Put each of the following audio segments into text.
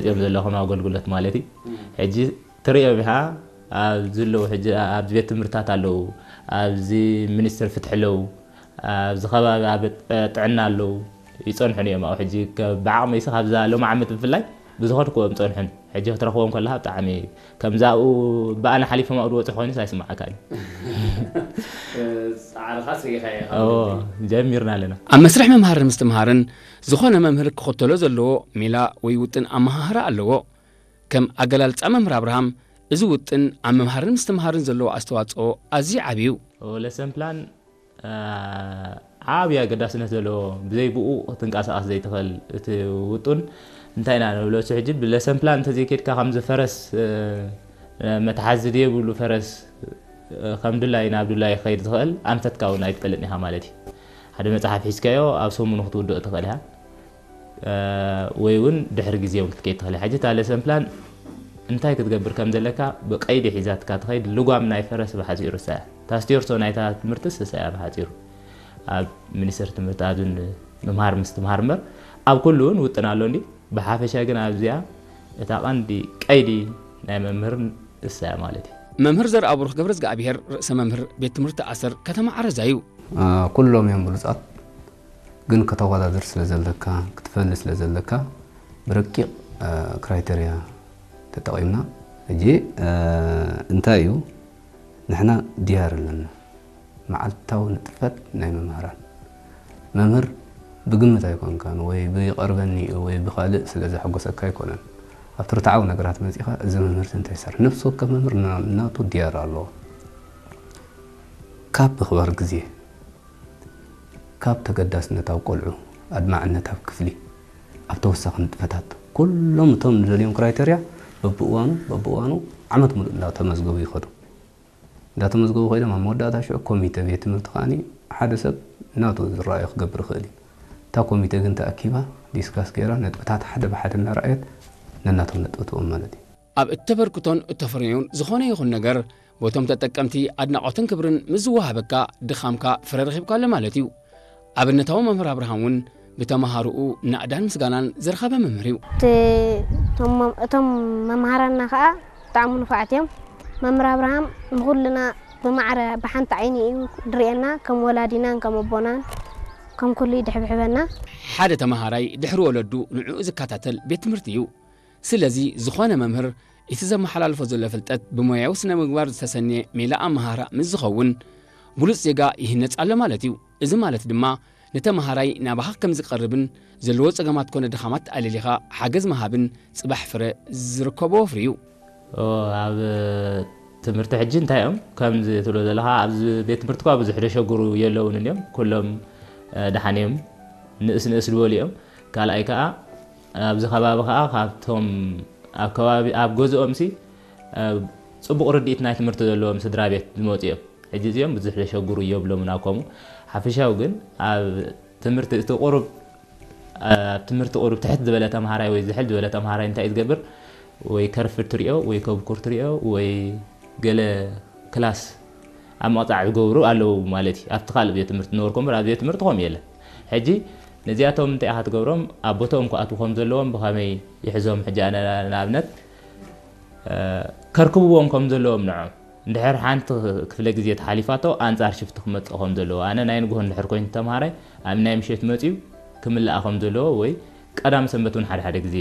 እዮም ዘለኹም ኣገልግሎት ማለት እዩ። ሕጂ ትርእዮም ኢኻ፣ ኣብዚ ኣለዉ፣ ሕጂ ኣብዚ ቤት ትምህርትታት ኣለዉ፣ ኣብዚ ሚኒስትሪ ፍትሒ ኣለዉ፣ ኣብዚ ከባቢ ኣብ ጥዕና ኣለዉ፣ ይጸንሑን እዮም። ኣብኡ ሕጂ ከ-፣ ብዓቕመይሲ ካብዛ ሎም ዓመት ብፍላይ ብዝኸድክዎም ጸንሑን። ሕጂ ክትረኽቦም ከለኻ ብጣዕሚ ከምዚ ኣብኡ ብኣና ሓሊፎም ኣብኡ ዝወጹ ኮይኑስ ኣይስምዓካን እዩ። ጻዕርኻስ ርኢኻዮ ኢኻ እዎ፣ ማለት እዩ። ጀሚርና ኣለና። ኣብ መስርሕ ምምሃርን ምስትምሃርን ዝኾነ መምህር ክኽተሎ ዘለዎ ሜላ ወይ ውጥን ኣመሃህራ ኣለዎ። ከም ኣገላልጻ መምህር ኣብርሃም፣ እዚ ውጥን ኣብ ምምሃርን ምስትምሃርን ዘለዎ ኣስተዋጽኦ ኣዝዩ ዓቢ እዩ። ኦ፣ ለሰን ፕላን፣ አ፣ ዓቢ ኣገዳስነት ዘለዎ፣ ብዘይ ብኡ ክትንቀሳቐስ ዘይትኽእል እቲ ውጡን እንታይ ኢና ንብሎ? እሱ ሕጂ ብለሰን ፕላን እንተዘይኬድካ ከምዚ ፈረስ፣ እ፣ መትሓዚ ዘየብሉ ፈረስ፣ እ፣ ከም ድላይ ናብ ድላይ ክኸይድ ዝኽእል ኣንፈትካ እውን ኣይትፈልጥን ኢኻ ማለት እዩ። ሓደ መጽሓፍ ሒዝካዮ ኣብ ሰሙኑ ክትውድኦ ትኽእል ኢኻ። እ፣ ወይ እውን ድሕሪ ግዜ እውን ክትከይድ ትኽእል ኢኻ። ሕጂ እታ ለሰን ፕላን እንታይ ክትገብር ከም ዘለካ ብቀይዲ ሒዛትካ ትኸይድ። ልጓም ናይ ፈረስ ብሓጺሩ እሳ እያ። እታ ስቴርሶ ናይታ ትምህርትስ እሳ እያ ብሓጺሩ። ኣብ ሚኒስትሪ ትምህርቲ ኣብዚ ምምሃር ምስትምሃር እምበር ኣብ ኩሉ እውን ውጥን ኣሎ እንዲ። ብሓፈሻ ግን ኣብዚኣ እታ ቀንዲ ቀይዲ ናይ መምህርን እሳ እያ ማለት እዩ። መምህር ዘርኣብሩኽ ገብረዝግኣብሄር ርእሰ መምህር ቤት ትምህርቲ ኣሰር ከተማ ዓረዛ እዩ። አ፣ ኩሎም እዮም ብሉጻት፣ ግን ከተወዳድር ስለ ዘለካ፣ ክትፈሊ ስለ ዘለካ ብረቂቕ፣ አ፣ ክራይቴርያ ተጠቒምና። ሕጂ፣ አ፣ እንታይ እዩ? ንሕና ዲያር ኣለና። መዓልታዊ ንጥፈት ናይ መምህራን። መምህር ብግምት ኣይኮንካን ወይ ብይቐርበኒ እዩ ወይ ብኻልእ ስለ ዘሐጎሰካ ኣይኮነን። ኣብቲ ርትዓዊ ነገራት መጺኻ፣ እዚ መምህር እዚ እንታይ ይሰርሕ? ነፍሲ ወከፍ መምህር ና-፣ ናቱ ዲያር ኣለዎ። ካብ ምኽባር ግዜ፣ ካብ ተገዳስነት ኣብ ቆልዑ፣ ኣድማዕነት ኣብ ክፍሊ፣ ኣብ ተወሳኺ ንጥፈታት፣ ኩሎም እቶም ንደልዮም ክራይቴርያ በብእዋኑ፣ በብእዋኑ ዓመት ሙሉእ እንዳተመዝገቡ ይኸዱ። እንዳተመዝገቡ ኮይኖም ኣብ መወዳእታ ሽዑ ኮሚተ ቤት ትምህርቲ ከኣኒ ሓደ ሰብ ናቱ ዝረኣዮ ክገብር ይኽእል እዩ። እታ ኮሚተ ግን ተኣኪባ ዲስካስ ገይራ ነጥብታት ሓደ ብሓደ እናረኣየት ነናቶም ነጥቢ ትህቦም ማለት እዩ። ኣብ እተበርክቶን እተፍርዮን ዝኾነ ይኹን ነገር በቶም ተጠቀምቲ ኣድናቖትን ክብርን ምስ ዝወሃበካ ድኻምካ ፍረ ረኺብካሉ ማለት እዩ። ኣብነታዊ መምህር ኣብርሃም እውን ብተምሃሮኡ ናእዳን ምስጋናን ዝረኸበ መምህር እዩ። እቲ እቶም መ-፣ እቶም መምሃራንና ከኣ ብጣዕሚ ንፉዓት እዮም። መምህር ኣብርሃም ንኹልና ብማዕረ ብሓንቲ ዓይኒ እዩ ዝርእየና፣ ከም ወላዲናን ከም ኣቦናን ከም ኩሉ ይድሕብሕበና። ሓደ ተምሃራይ ድሕሪ ወለዱ ንዕኡ ዝከታተል ቤት ትምህርቲ እዩ። ስለዚ ዝኾነ መምህር እቲ ዘመሓላልፎ ዘሎ ፍልጠት ብሞያዊ ስነ ምግባር ዝተሰነየ ሜላ ኣመሃህራ ምስ ዝኸውን ብሉጽ ዜጋ ይህነጽ ኣሎ ማለት እዩ። እዚ ማለት ድማ ንተምሃራይ ናባኻ ከም ዝቐርብን ዘለዎ ጸገማት ኮነ ድኻማት ኣለሊኻ ሓገዝ ምሃብን ጽባሕ ፍረ ዝርከቦ ወፍሪ እዩ። ኦ፣ ኣብ ትምህርቲ ሕጂ እንታይ እዮም? ከምዚ ትብሎ ዘለኻ ኣብዚ ቤት ትምህርቲ እኳ ብዙሕ ደሸግሩ የለውን እዮም። ኩሎም፣ እ፣ ደሓን እዮም። ንእስ ንእስ ዝበሉ እዮም። ካልኣይ ከኣ ኣብዚ ከባቢ ከኣ ካብቶም ኣብ ከባቢ ኣብ ገዝኦምሲ፣ እ፣ ጽቡቕ ርድኢት ናይ ትምህርቲ ዘለዎም ስድራ ቤት ዝመጹ እዮም። ሕጂ እዚኦም ብዙሕ ዘሸግሩ የብሎምን ኣብ ከምኡ። ሓፈሻዊ ግን ኣብ ትምህርቲ እቲ ቁሩብ፣ ኣብ ትምህርቲ ቁሩብ ትሕት ዝበለ ተምሃራይ ወይ ዝሕል ዝበለ ተምሃራይ እንታይ እዩ ዝገብር? ወይ ከርፍድ ትሪኦ፣ ወይ ከብኩር ትሪኦ፣ ወይ ገለ ክላስ ኣብ ምቕጻዕ ዝገብሩ ኣለዉ ማለት እዩ። ኣብቲ ካልእ ቤት ትምህርቲ ዝነበርኩ እምበር ኣብ ቤት ትምህርቲ ከምኡ የለን። ሕጂ ነዚኣቶም እንታይ ኢኻ ትገብሮም? ኣብ ቦትኦም ክኣትዉ ከም ዘለዎም ብኸመይ ይሕዞም? ሕጂ ኣነ ንኣብነት፣ እ፣ ከርክብዎም ከም ዘለዎም ንዖም። እንድሕር ሓንቲ ክፍለ ግዜ ተሓሊፋቶ ኣንጻር ሽፍቲ ክመጽእ ከም ዘለዎ፣ ኣነ ናይ ንግሆ እንድሕር ኮይኑ ተምሃራይ ኣብ ናይ ምሸት መጺኡ ክምልኣ ከም ዘለዎ ወይ ቀዳም ሰንበት እውን ሓደ ሓደ ግዜ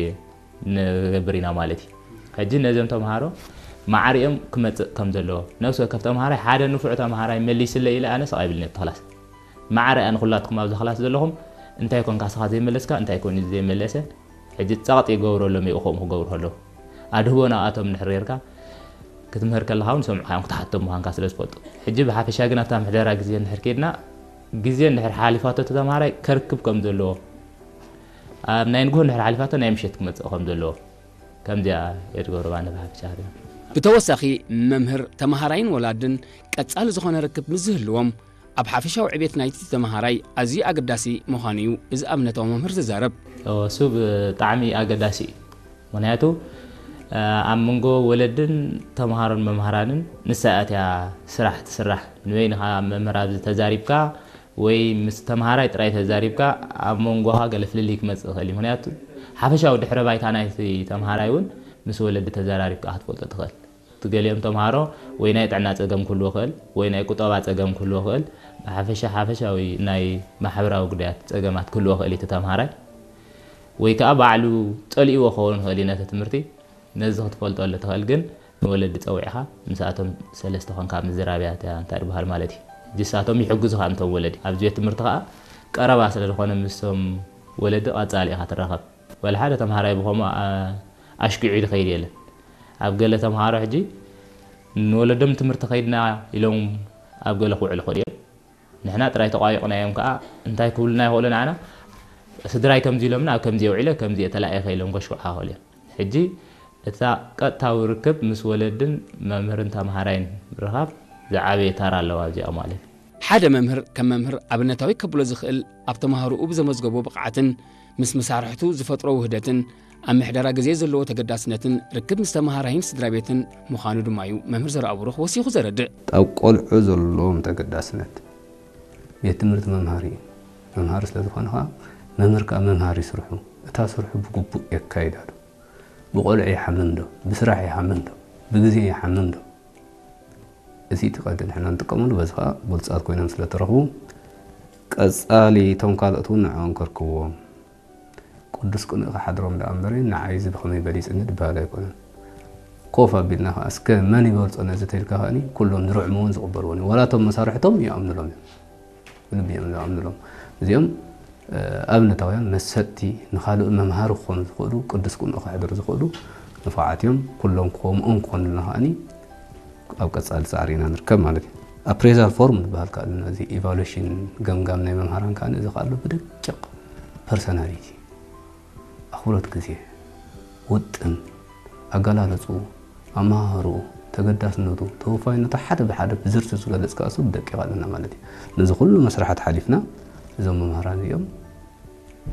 ንገብር ኢና ማለት እዩ። ሕጂ ነዞም ተምሃሮ ማዕሪኦም ክመጽእ ከም ዘለዎ፣ ነፍሲ ወከፍ ተምሃራይ ሓደ ንፉዕ ተምሃራይ መሊስለ ኢለ ኣነ ስቕ ኣይብልን ኣብቲ ክላስ። ማዕረ ኣነ ኩላትኩም ኣብዚ ክላስ ዘለኹም እንታይ ኮንካ ስኻ ዘይመለስካ፣ እንታይ ኮን እዩ ዘይመለሰ፣ ሕጂ ጸቕጢ ይገብረሎም እዩ፣ ከምኡ ክገብሩ ከለዉ። ኣድህቦ ናብኣቶም እንድሕር ጌርካ፣ ክትምህር ከለኻ እውን ሰምዑኻ እዮም፣ ክትሓቶም ምዃንካ ስለ ዝፈልጡ። ሕጂ ብሓፈሻ ግን ኣብታ ምሕደራ ግዜ እንድሕር ከይድና፣ ግዜ እንድሕር ሓሊፋቶ እቲ ተምሃራይ ከርክብ ከም ዘለዎ፣ ኣብ ናይ ንግሆ እንድሕር ሓሊፋቶ ናይ ምሸት ክመጽእ ከም ዘለዎ፣ ከምዚኣ እየ ዝገብሮ ኣነ ብሓፈሻ። ብተወሳኺ መምህር፣ ተምሃራይን ወላድን ቀጻሊ ዝኾነ ርክብ ምስ ዝህልዎም፣ ኣብ ሓፈሻዊ ዕቤት ናይቲ ተምሃራይ ኣዝዩ ኣገዳሲ ምዃኑ እዩ እዚ ኣብነታዊ መምህር ዝዛረብ። እወ፣ እሱ ብጣዕሚ ኣገዳሲ እዩ። ምኽንያቱ፣ እ፣ ኣብ መንጎ ወለድን ተምሃሮን መምሃራንን ንሳ እያ ስራሕ ትስራሕ። ንበይንኻ መምህር ኣብዚ ተዛሪብካ ወይ ምስ ተምሃራይ ጥራይ ተዛሪብካ ኣብ መንጎኻ ገለ ፍልልይ ክመጽእ ይኽእል እዩ። ምኽንያቱ ሓፈሻዊ ድሕረ ባይታ ናይቲ ተምሃራይ እውን ምስ ወለዲ ተዘራሪብካ ክትፈልጦ ትኽእል። እቲ ገሊኦም ተምሃሮ ወይ ናይ ጥዕና ጸገም ክህልዎ ይኽእል፣ ወይ ናይ ቁጠባ ጸገም ክህልዎ ይኽእል። ብሓፈሻ ሓፈሻዊ ናይ ማሕበራዊ ጉዳያት ጸገማት ክህልዎ ይኽእል እቲ ተምሃራይ። ወይ ከኣ ባዕሉ ጸሊእዎ ክኸውን ይኽእል እዩ ነቲ ትምህርቲ። ነዚ ክትፈልጠሉ ትኽእል ግን ንወለዲ ጸዊዕኻ ምስኣቶም ሰለስተ ኾንካ ምዝራብያ እታ እንታይ ዝበሃል ማለት እዩ። ንሳቶም ይሕግዙኻ እቶም ወለዲ። ኣብዚ ቤት ትምህርቲ ኸኣ ቀረባ ስለ ዝኾነ ምስቶም ወለዲ ቀጻሊ ኢኻ ትራኸብ። ወላ ሓደ ተምሃራይ ብኸምኡ፣ ኣ-፣ ኣሽኪዑ ዝኸይድ የለን። ኣብ ገለ ተምሃሮ ሕጂ ንወለዶም ትምህርቲ ከይድና ኢሎም ኣብ ገለ ክውዕሉ ይኽእሉ እዮም። ንሕና ጥራይ ተቋይቑናዮም ከኣ እንታይ ክብሉና ይኽእሉ ንዓና? ስድራይ ከምዚ ኢሎምና ኣብ ከምዚ የውዒለ፣ ከምዚ እየ ተላኢኸ ኢሎም ከሽኩዕኻ ይኽእሉ እዮም። ሕጂ እታ ቀጥታዊ ርክብ ምስ ወለድን መምህርን ተምሃራይን ምርኻብ ዝዓበየ ተራ ኣለዋ ኣብዚኣ ማለት እዩ። ሓደ መምህር ከም መምህር ኣብነታዊ ከብሎ ዝኽእል ኣብ ተምሃሮኡ ብዘመዝገቦ ብቕዓትን ምስ መሳርሕቱ ዝፈጥሮ ውህደትን ኣብ ምሕደራ ግዜ ዘለዎ ተገዳስነትን ርክብ ምስ ተምሃራይን ስድራ ቤትን ምዃኑ ድማ እዩ መምህር ዘርኣብሩኽ ወሲኹ ዘረድእ። ኣብ ቆልዑ ዘለዎም ተገዳስነት ቤት ትምህርቲ መምሃሪ እዩ። መምሃሪ ስለ ዝኾነ ኸዓ መምህር ከኣ መምሃሪ ስርሑ፣ እታ ስርሑ ብግቡእ የካይዳ ዶ? ብቆልዑ ይሓምም ዶ? ብስራሕ ይሓምም ዶ? ብግዜ ይሓምም ዶ? እዚ እቲ ቀንዲ ንሕና ንጥቀመሉ፣ በዚ ኸዓ ብሉጻት ኮይኖም ስለ ተረኽቡ፣ ቀጻሊ እቶም ካልኦት እውን ንዕኦም ከርክብዎም። ቅዱስ ቅኑዕ ክሓድሮም ደኣ እምበር፣ ንዓይ እዚ ብኸመይ በሊጽኒ ዝበሃል ኣይኮነን። ኮፍ ኣቢልና ኸዓ፣ እስከ መን ይበልጾ ነዚ ተልካ ኸኣኒ፣ ኩሎም ዝርዕምዎን ዝቕበልዎን እዮም። ዋላ እቶም መሳርሕቶም ይኣምኑሎም እዮም። ብልቢ እዮም ዝኣምኑሎም። እዚኦም፣ እ፣ ኣብነታውያን መሰጥቲ፣ ንኻልእ መምሃሪ ክኾኑ ዝኽእሉ፣ ቅዱስ ቅኑዕ ከሕድሩ ዝኽእሉ ንፉዓት እዮም። ኩሎም ከምኦም ክኾኑልና ኸኣኒ ኣብ ቀጻሊ ጻዕሪ ኢና ንርከብ ማለት እዩ። ኣፕሬዛል ፎርም ዝበሃል ከኣ ኣለና። እዚ ኢቫሉዌሽን ገምጋም ናይ መምሃራን ከኣ እዚ ከኣ ኣሎ ብደቂቕ ፐርሰናሊቲ፣ ኣኽብሮት ግዜ፣ ውጥን፣ ኣገላልጽኡ፣ ኣመሃህርኡ፣ ተገዳስነቱ፣ ተወፋይነቱ ሓደ ብሓደ ብዝርዝር ዝገልጽ ከኣ እሱ ብደቂቕ ኣለና ማለት እዩ። ነዚ ኩሉ መስርሓት ሓሊፍና እዞም መምሃራን እዚኦም፣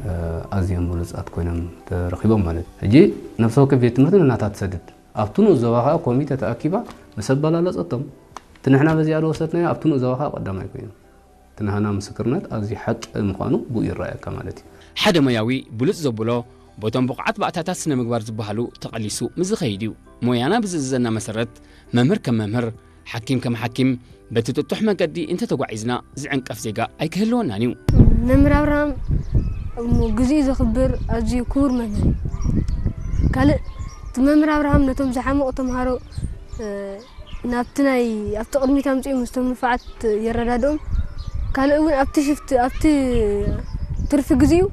እ፣ ኣዝዮም ብሉጻት ኮይኖም ተረኺቦም ማለት እዩ። ሕጂ ነፍሲ ወከፍ ቤት ትምህርቲ ንናታ ትሰድድ። ኣብቲ ንኡስ ዞባ ከኣ ኮሚተ ተኣኪባ ምስ ኣበላለጸቶም፣ እቲ ንሕና በዚኣ ዝወሰድናዮ ኣብቲ ንኡስ ዞባ ከኣ ቀዳማይ ኮይኑ። እቲ ናህና ምስክርነት ኣብዚ ሓቂ ምዃኑ ብኡ ይረኣየካ ማለት እዩ። ሓደ ሞያዊ ብሉጽ ዘብሎ ቦቶም ብቑዓት ባእታታት ስነ ምግባር ዝበሃሉ ተቐሊሱ ምስ ዝኸይድ እዩ። ሞያና ብዝእዝዘና መሰረት መምህር ከም መምህር፣ ሓኪም ከም ሓኪም በቲ ጥጡሕ መገዲ እንተተጓዒዝና ዝዕንቀፍ ዜጋ ኣይክህልወናን እዩ። መምህር ኣብርሃም እሞ ግዜኡ ዘኽብር ኣዝዩ ክቡር መምህር እዩ። ካልእ እቲ መምህር ኣብርሃም ነቶም ዝሓመቑ ተምሃሮ፣ እ፣ ናብቲ ናይ ኣብቲ ቅድሚት ኣምጺኡ ምስቶም ንፉዓት የረዳድኦም። ካልእ እውን ኣብቲ ሽፍት ኣብቲ ትርፊ ግዜኡ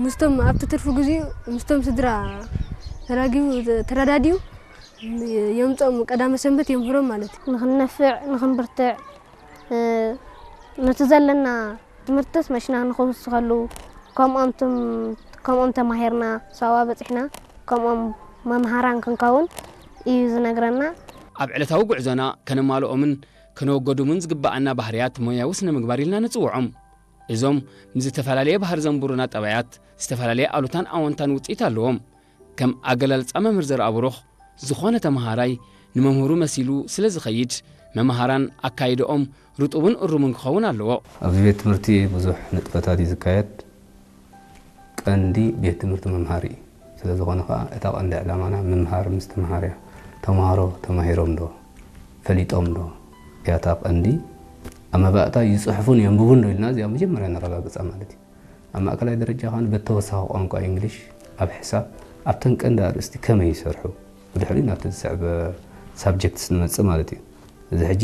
ምስቶም ኣብቲ ትርፊ ግዜኡ ምስቶም ስድራ ተራጊቡ ተረዳዲኡ የምጾም ቀዳመ ሰንበት የምህሮም ማለት እዩ። ንኽንነፍዕ ንኽንብርትዕ፣ እ፣ ነቲ ዘለና ትምህርትስ መሽና ንኽውስኸሉ ከምኦም ትም-፣ ከምኦም ተማሂርና ሳዋ በጺሕና ከምኦም መምሃራን ክንከውን እዩ ዝነግረና። ኣብ ዕለታዊ ጉዕዞና ከነማልኦምን ከነወገዱምን ዝግብኣና ባህርያት ሞያዊ ስነ ምግባር ኢልና ንጽውዖም። እዞም ምስ ዝተፈላለየ ባህሪ ዘንብሩና ጠባያት ዝተፈላለየ ኣሉታን ኣወንታን ውጽኢት ኣለዎም። ከም ኣገላልጻ መምህር ዘርኣብሩኽ፣ ዝኾነ ተመሃራይ ንመምህሩ መሲሉ ስለ ዝኸይድ፣ መምሃራን ኣካይድኦም ርጡብን እሩምን ክኸውን ኣለዎ። ኣብዚ ቤት ትምህርቲ ብዙሕ ንጥፈታት እዩ ዝካየድ። ቀንዲ ቤት ትምህርቲ መምሃሪ እዩ። ስለ ዝኾነ ኸኣ እታ ቀንዲ ዕላማና ምምሃር ምስትምሃር እያ። ተምሃሮ ተማሂሮም ዶ? ፈሊጦም ዶ? እያ እታ ቀንዲ። ኣብ መባእታ ይጽሕፉን የንብቡን ዶ ኢልና እዚኣ መጀመርያ ነረጋግጻ ማለት እዩ። ኣብ ማእከላይ ደረጃ ኸኣ በተወሳኺ ቋንቋ እንግሊሽ፣ ኣብ ሕሳብ፣ ኣብተን ቀንዲ ኣርእስቲ ከመይ ይሰርሑ? ብድሕሪኡ ናብቲ ዝስዕብ ሳብጀክትስ ንመጽእ ማለት እዩ። እዚ ሕጂ፣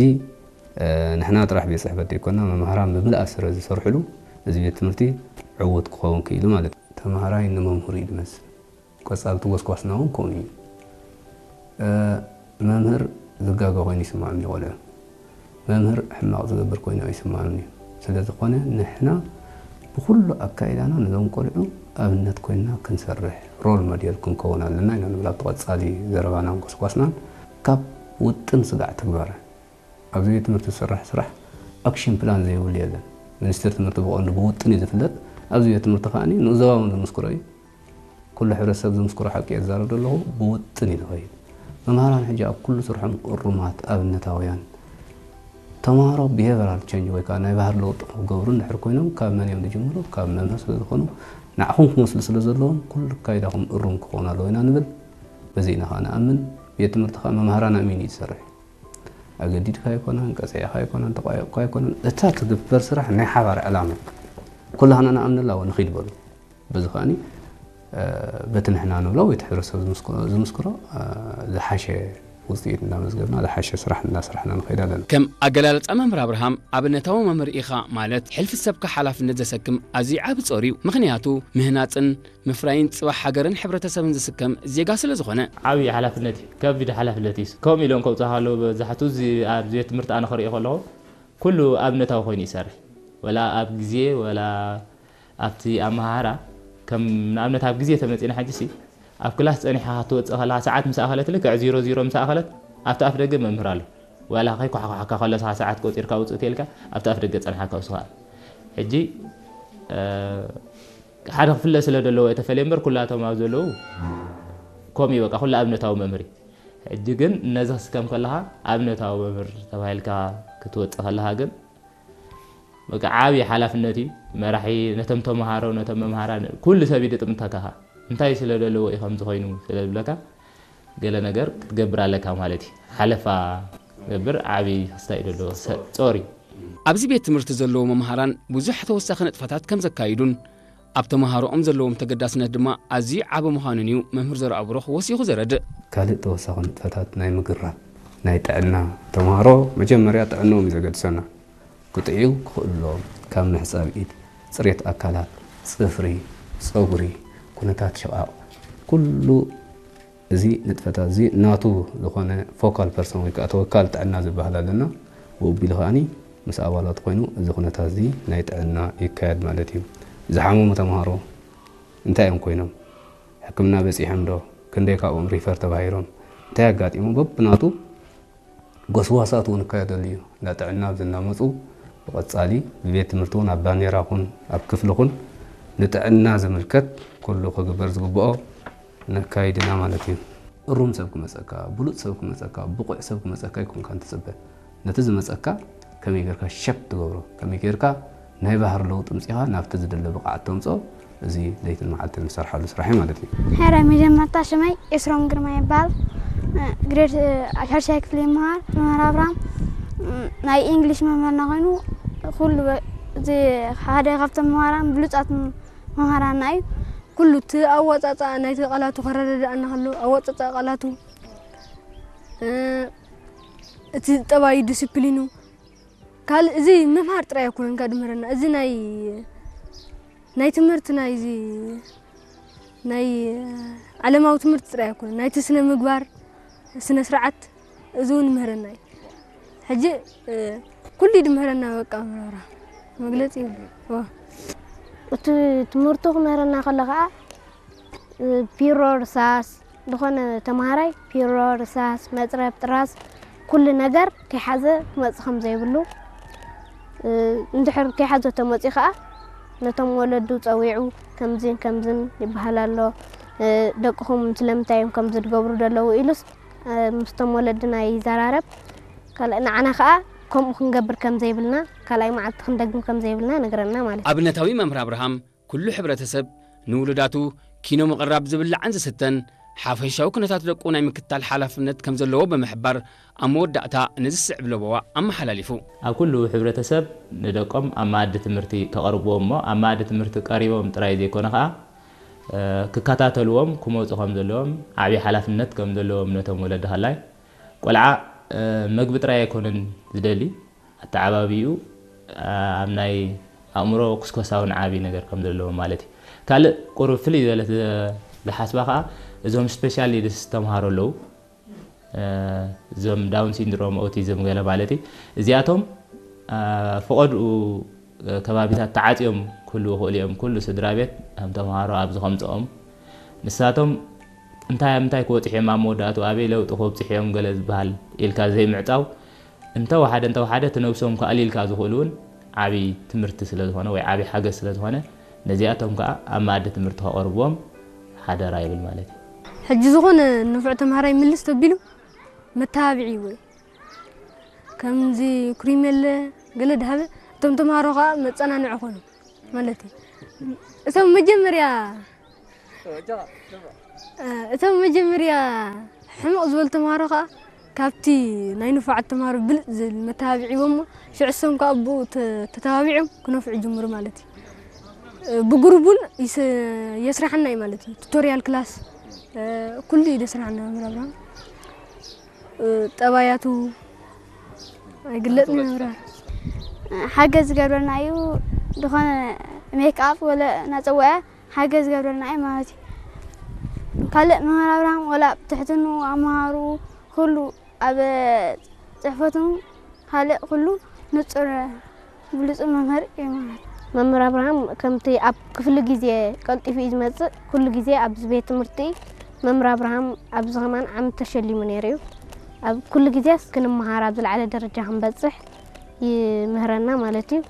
እ፣ ንሕና ጥራሕ ቤት ጽሕፈት ዘይኮና፣ መምህራን ብምልኣ ስረ ዝሰርሕሉ፣ እዚ ቤት ትምህርቲ ዕዉት ክኸውን ክኢሉ ማለት እዩ። ተምሃራይ ንመምህሩ እዩ ዝመስል። ቀጻሊ እቲ ጎስጓስና እውን ከምኡ እዩ። እ፣ መምህር ዝጋገ ኮይኑ ይስምዖም እዩ ቆልዑ። መምህር ሕማቕ ዝገብር ኮይኑ ኣይስምዖምን እዩ። ስለ ዝኾነ ንሕና ብኹሉ ኣካይዳና ነዞም ቆልዑ ኣብነት ኮይንና ክንሰርሕ፣ ሮል ሞዴል ክንከውን ኣለና ኢና ንብል ኣብቲ ቀጻሊ ዘረባናን ጎስጓስናን። ካብ ውጥን ስጋዕ ተግባር። ኣብዚ ቤት ትምህርቲ ዝስራሕ ስራሕ ኣክሽን ፕላን ዘይብሉ የለን። ሚኒስትሪ ትምህርቲ ብቐንዱ ብውጥን እዩ ዝፍለጥ። ኣብዚ ቤት ትምህርቲ ከኣ ንኡስ ዞባ እውን ዝምስክሮ እዩ። ኩሉ ሕብረተሰብ ዝምስክሮ ሓቂ እየ ዝዛረብ ዘለኹ፣ ብውጥን እዩ ዝኸይድ። መምሃራን ሕጂ ኣብ ኩሉ ስርሖም እሩማት፣ ኣብነታውያን። ተምሃሮ ቢሄቨራል ቸንጅ ወይ ከኣ ናይ ባህሪ ለውጢ ክገብሩ እንድሕር ኮይኖም ካብ መን እዮም ዝጅምሩ? ካብ መምህር ስለ ዝኾኑ ንዓኹም ክመስሉ ስለ ዘለዎም ኩሉ ኣካይዳኹም እሩም ክኸውን ኣለዎ ኢና ንብል። በዚ ኢና ከዓ ንኣምን። ቤት ትምህርቲ ከዓ መምሃራን ኣሚኑ እዩ ዝሰርሕ። ኣገዲድካ ኣይኮነን፣ ቀፂዕካ ኣይኮነን፣ ተቋየቕካ ኣይኮነን። እታ ትግበር ስራሕ ናይ ሓባር ዕላማ ኩላህና ንኣምነላ፣ ንኺድ በሉ። በዚ ከኣኒ በቲ ንሕና ንብሎ ወይ እቲ ሕብረተሰብ ዝምስክሮ ዝሓሸ ውፅኢት እናመዝገብና ዝሓሸ ስራሕ እናስራሕና ንኸይድ ኣለና። ከም ኣገላልፃ መምህር ኣብርሃም፣ ኣብነታዊ መምህር ኢኻ ማለት ሕልፊ ሰብካ ሓላፍነት ዘሰክም ኣዝዩ ዓቢ ጾር እዩ። ምኽንያቱ ምህናፅን ምፍራይን ፅባሕ ሃገርን ሕብረተሰብን ዝስከም ዜጋ ስለ ዝኾነ። ዓብዪ ሓላፍነት እዩ፣ ከቢድ ሓላፍነት እዩ። ከምኡ ኢሎም ከውፅኻ ኣለዉ። በብዛሕቱ ኣብዚ ቤት ትምህርቲ ኣነ ክሪኦ ከለኹ ኩሉ ኣብነታዊ ኮይኑ ይሰርሕ። ወላ ኣብ ግዜ ወላ ኣብቲ ኣመሃህራ ከም ንኣብነት ኣብ ግዜ ተመፂና ሕጂ ሲ ኣብ ክላስ ፀኒሕካ ክትወፅእ ከለካ ሰዓት ምስ ኣኸለት ልክዕ ዚሮ ዚሮ ምስ ኣኸለት ኣብቲ ኣፍ ደገ መምህር ኣሎ። ዋላ ከይኳሕኳሕካ ከሎ ሰዓት ቆፂርካ ውፅእ ተልካ ኣብቲ ኣፍ ደገ ፀንሓካ ውስኻ ሕጂ ሓደ ክፍለ ስለ ዘለዎ የተፈለየ እምበር ኩላቶም ኣብ ዘለዉ ከምኡ በቃ ኩሉ ኣብነታዊ መምህር እዩ። ሕጂ ግን ነዚ ክስከም ከለኻ ኣብነታዊ መምህር ተባሂልካ ክትወፅእ ከለኻ ግን በቃ ዓብዪ ሓላፍነት እዩ። መራሒ ነቶም ተምሃሮ ነቶም መምሃራን ኩሉ ሰብ ይድጥምተካ። እንታይ ስለ ዘለዎ እዩ ከምዚ ኮይኑ ስለ ዝብለካ ገለ ነገር ክትገብር ኣለካ ማለት እዩ። ሓለፋ ገብር ዓብዪ ክስታይ ዘለዎ ጾር እዩ። ኣብዚ ቤት ትምህርቲ ዘለዉ መምሃራን ብዙሕ ተወሳኺ ንጥፈታት ከም ዘካይዱን ኣብ ተምሃሮኦም ዘለዎም ተገዳስነት ድማ ኣዝዩ ዓቢ ምዃኑን እዩ መምህር ዘርኣብሩኽ ወሲኹ ዘረድእ። ካልእ ተወሳኺ ንጥፈታት ናይ ምግራት ናይ ጥዕና ተምሃሮ መጀመርያ ጥዕንኦም እዩ ዘገድሰና። ክጥዕዩ ክኽእሉ ኣለዎም። ካብ ምሕጻብ ኢድ፣ ጽሬት ኣካላት፣ ጽፍሪ፣ ጸጉሪ፣ ኩነታት ሽቓቕ፣ ኩሉ እዚ ንጥፈታት እዚ ናቱ ዝኾነ ፎካል ፐርሰን ወይ ከዓ ተወካል ጥዕና ዝበሃል ኣለና። ብኡ ኣቢሉ ከኣኒ ምስ ኣባላት ኮይኑ እዚ ኩነታት እዚ ናይ ጥዕና ይካየድ ማለት እዩ። ዝሓመሙ ተምሃሮ እንታይ እዮም ኮይኖም? ሕክምና በፂሖም ዶ? ክንደይ ካብኦም ሪፈር ተባሂሮም? እንታይ ኣጋጢሞም? በብናቱ ጎስጓሳት እውን ይካየደሉ እዩ። እንዳ ጥዕና ኣብዚ እናመፁ ብቐፃሊ ብቤት ትምህርቲ እውን ኣብ ባንዴራ ኩን ኣብ ክፍሊ ኩን ንጥዕና ዝምልከት ኩሉ ክግበር ዝግብኦ ነካይድና ማለት እዩ። እሩም ሰብ ክመፀካ፣ ብሉፅ ሰብ ክመፀካ፣ ብቑዕ ሰብ ክመፀካ ኣይኮንካን ትፅበ። ነቲ ዝመፀካ ከመይ ጌርካ ሸፕ ትገብሮ፣ ከመይ ጌርካ ናይ ባህሪ ለውጢ ምፂኻ ናብቲ ዝደለ ብቕዓት ተምፅኦ፣ እዚ ለይትን መዓልትን ንሰርሓሉ ስራሕ እዩ ማለት እዩ። ሕራይ መጀመርታ ሽመይ ኤስሮም ግርማ ይበሃል። ግሬድ ሻድሻይ ክፍሊ ይመሃር። መምህር ኣብርሃም ናይ ኢንግሊሽ መምህርና ኮይኑ ኩሉ በ-፣ እዚ ሓደ ካብቶም መምህራን ብሉጻት መምህራንና እዩ። ኩሉ እቲ ኣወጻጽኣ ናይቲ ቃላቱ ከረዳድኣና ከሎ ኣወጻጽኣ ቃላቱ፣ እ፣ እቲ ጠባዩ ዲስፕሊኑ ካልእ እዚ ምምሃር ጥራይ ኣይኮነን ከድምህረና። እዚ ናይ፣ ናይ ትምህርቲ ናይ እዚ ናይ ዓለማዊ ትምህርቲ ጥራይ ኣይኮነን። ናይቲ ስነ ምግባር፣ ስነ ስርዓት እዚ እውን ይምህረና እዩ። ሕጂ፣ እ፣ ኩሉ ድምህረና በቃ ምራራ መግለጺ የብሉን። ዋ። እቲ ትምህርቱ ክምህረና ከሎ ኸዓ፣ እ፣ ፒሮ፣ ርሳስ፣ ዝኾነ ተምሃራይ ፒሮ፣ ርሳስ፣ መፅረብ፣ ጥራዝ፣ ኩሉ ነገር ከይሓዘ ክመፅእ ከም ዘይብሉ፣ እ፣ እንድሕር ከይሓዘ ተመፅኡ ከዓ ነቶም ወለዱ ፀዊዑ ከምዚን ከምዝን ይበሃል ኣሎ፣ እ፣ ደቅኹም ስለምንታይ እዮም ከምዚ ዝገብሩ ዘለዉ ኢሉስ፣ እ፣ ምስቶም ወለድና ይዘራረብ። ካልእ ንዓና ከዓ ከምኡ ክንገብር ከም ዘይብልና፣ ካልኣይ መዓልቲ ክንደግም ከም ዘይብልና ነግረና ማለት እዩ። ኣብነታዊ መምህር ኣብርሃም ኩሉ ሕብረተሰብ ንውሉዳቱ ኪኖ ምቕራብ ዝብላዕን ዝስተን ሓፈሻዊ ኩነታት ደቁ ናይ ምክትታል ሓላፍነት ከም ዘለዎ ብምሕባር ኣብ መወዳእታ ነዚ ዝስዕብ ለበዋ ኣመሓላሊፉ። ኣብ ኩሉ ሕብረተሰብ ንደቆም ኣብ መኣዲ ትምህርቲ ከቐርብዎም እሞ ኣብ መኣዲ ትምህርቲ ቀሪቦም ጥራይ ዘይኮነ ኸዓ፣ እ፣ ክከታተልዎም ክመፁ ከም ዘለዎም ዓብዪ ሓላፍነት ከም ዘለዎም ነቶም ወለዲ ከላይ ቆልዓ፣ እ፣ መግቢ ጥራይ ኣይኮነን ዝደሊ ኣተዓባቢኡ ኣብ ናይ ኣእምሮ ኩስኮሳውን ዓቢ ነገር ከም ዘለዎ ማለት እዩ። ካልእ ቁሩብ ፍልይ ዝበለት ዝሓስባ ከኣ እዞም ስፔሻል ኒድስ ተምሃሮ ኣለዉ። እዞም ዳውን ሲንድሮም፣ ኦቲዝም ገለ ማለት እዩ። እዚኣቶም ፈቐድኡ ከባቢታት ተዓጽዮም ክህልዉ ይኽእሉ እዮም። ኩሉ ስድራ ቤት ከም ተምሃሮ ኣብዚ ከምጽኦም ንሳቶም እንታይ ኣብ ምንታይ ክበጽሑ እዮም፣ ኣብ መወዳእቱ ኣበይ ለውጢ ክበጽሑ እዮም ገለ ዝበሃል ኢልካ ዘይምዕጻው እንተወሓደ እንተወሓደ እቲ ነብሶም ከኣልዩ ኢልካ ዝኽእሉ እውን ዓብዪ ትምህርቲ ስለ ዝኾነ ወይ ዓብዪ ሓገዝ ስለ ዝኾነ ነዚኣቶም ከኣ ኣብ መኣዲ ትምህርቲ ከቐርብዎም ሓደራ ይብል ማለት እዩ። ሕጂ ዝኾነ ንፉዕ ተምሃራይ ምልስ ተቢሉ መተባብዒ ወይ ከምዚ ክሪሜለ ገለ ድሃበ እቶም ተምሃሮ ከኣ መጸናንዒ ኮኑ ማለት እዩ። እቶም መጀመርያ እቶም መጀመርያ ሕምቕ ዝበሉ ተምሃሮ ከዓ ካብቲ ናይ ንፉዓት ተምሃሮ ብልፅ ዝብል መተባብዒ ሂቦሞ፣ ሽዑ እሶም ከዓ ብኡ ተ- ተተባቢዖም ክነፍዑ ይጅምሩ ማለት እዩ። ብጉሩብ እውን ይስ- የስርሓና እዩ ማለት እዩ። ቱቶሪያል ክላስ ኩሉ እዩ ዘስርሓና መምህር ኣብርሃም። ጠባያቱ ኣይግለፅን መምህር ኣብርሃም። ሓገዝ ዝገብረና እዩ። ዝኾነ ሜክኣፕ ወለ እናፀወዐ ሓገዝ ዝገብረና እዩ ማለት እዩ። ካልእ መምህር ኣብርሃም ወላ ትሕትኑ ኣምሃሩ ኩሉ ኣብ ፅሕፈቱ ካልእ ኩሉ ንፁር ብሉፁ መምህር እዩ ማለት እዩ። መምህር ኣብርሃም ከምቲ ኣብ ክፍሊ ግዜ ቀልጢፉ እዩ ዝመፅእ፣ ኩሉ ግዜ ኣብዚ ቤት ትምህርቲ መምህር ኣብርሃም ኣብዚ ከማን ዓመት ተሸሊሙ ነይሩ እዩ። ኣብ ኩሉ ግዜስ ክንመሃር ኣብ ዝለዓለ ደረጃ ክንበፅሕ ይምህረና ማለት እዩ።